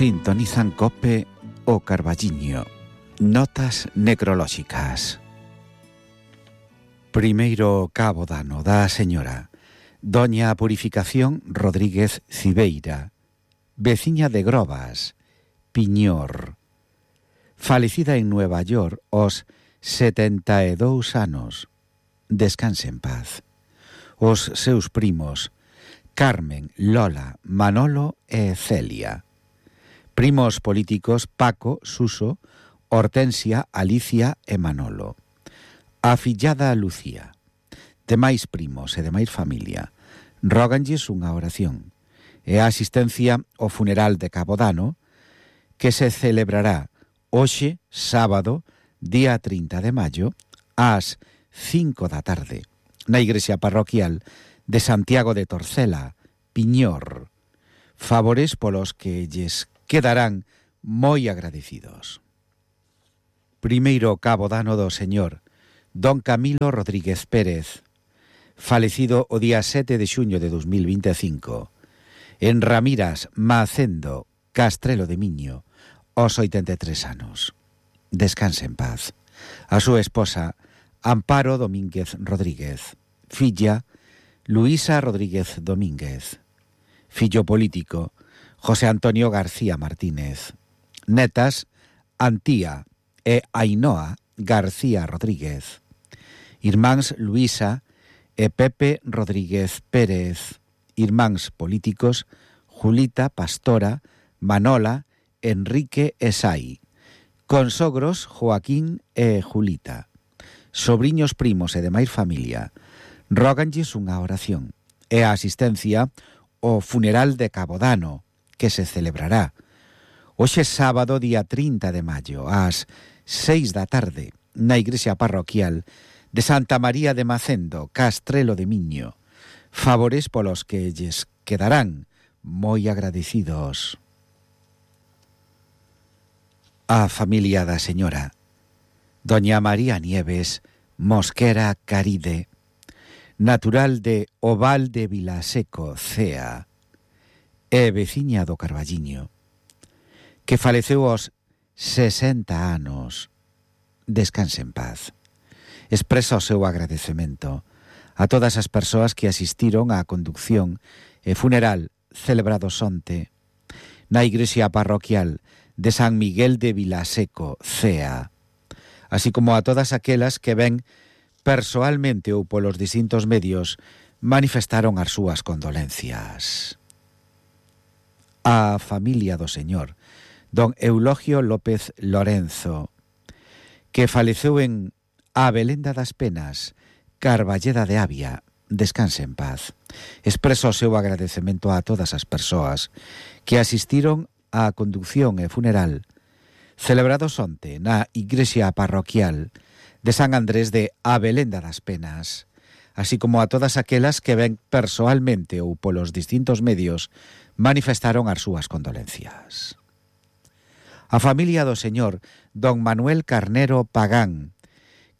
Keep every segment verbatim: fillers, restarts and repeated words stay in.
Sintonizan Cope o Carballiño. Notas necrolóxicas. Primeiro cabo dano da señora Doña Purificación Rodríguez Cibeira, veciña de Grobas, Piñor, falecida en Nueva York aos setenta e dous anos. Descanse en paz. Os seus primos Carmen, Lola, Manolo e Celia. Primos políticos Paco, Suso, Hortensia, Alicia e Manolo. A fillada Lucía. Demais primos e demais familia róganlles unha oración e a asistencia ao funeral de Cabo Dano, que se celebrará hoxe, sábado, día trinta de maio, ás cinco da tarde, na igrexa parroquial de Santiago de Torcela, Piñor. Favores polos que lles quedarán moi agradecidos. Primeiro cabo dano do señor Don Camilo Rodríguez Pérez, falecido o día sete de xuño de dos mil vinte e cinco, en Ramiras, Macendo, Castrelo de Miño, aos oitenta e tres anos. Descanse en paz. A súa esposa, Amparo Domínguez Rodríguez. Filla, Luisa Rodríguez Domínguez. Fillo político, José Antonio García Martínez. Netas, Antía e Ainhoa García Rodríguez. Irmáns Luisa e Pepe Rodríguez Pérez. Irmáns políticos, Julita, Pastora, Manola, Enrique e Sai. Consogros, Joaquín e Julita. Sobriños, primos e demais familia róganlles unha oración e a asistencia ao funeral de Cabo Dano, que se celebrará hoxe sábado día trinta de maio ás seis da tarde na igrexa parroquial de Santa María de Macendo, Castrelo de Miño. Favores polos que lles quedarán moi agradecidos. A familia da señora Doña María Nieves Mosquera Caride, natural de Oval de Vilaseco, Cea, e veciña do Carballiño, que faleceu aos sesenta anos. Descanse en paz. Expresa o seu agradecemento a todas as persoas que asistiron á conducción e funeral celebrados onte na igrexa parroquial de San Miguel de Vilaseco, Cea, así como a todas aquelas que ven persoalmente ou polos distintos medios manifestaron as súas condolencias. A familia do señor Don Eulogio López Lorenzo, que faleceu en Abelenda das Penas, Carballeda de Avia. Descanse en paz. Expreso o seu agradecemento a todas as persoas que asistiron á conducción e funeral celebrados onte na igrexa parroquial de San Andrés de Abelenda das Penas, así como a todas aquelas que ven persoalmente ou polos distintos medios manifestaron as súas condolencias. A familia do señor Don Manuel Carnero Pagán,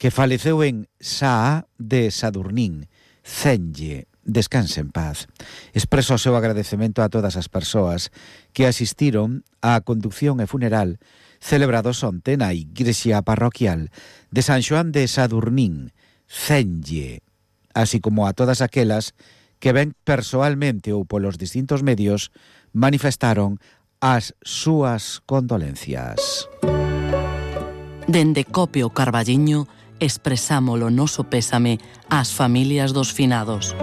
que faleceu en Saá de Sadurnín, Cenlle. Descanse en paz. Expreso o seu agradecemento a todas as persoas que asistiron á conducción e funeral celebrados onte na igrexa parroquial de San Xoán de Sadurnín, Cenlle, así como a todas aquelas que ven persoalmente ou polos distintos medios manifestaron as súas condolencias. Dende Cope o Carballiño expresamos o noso pésame ás familias dos finados.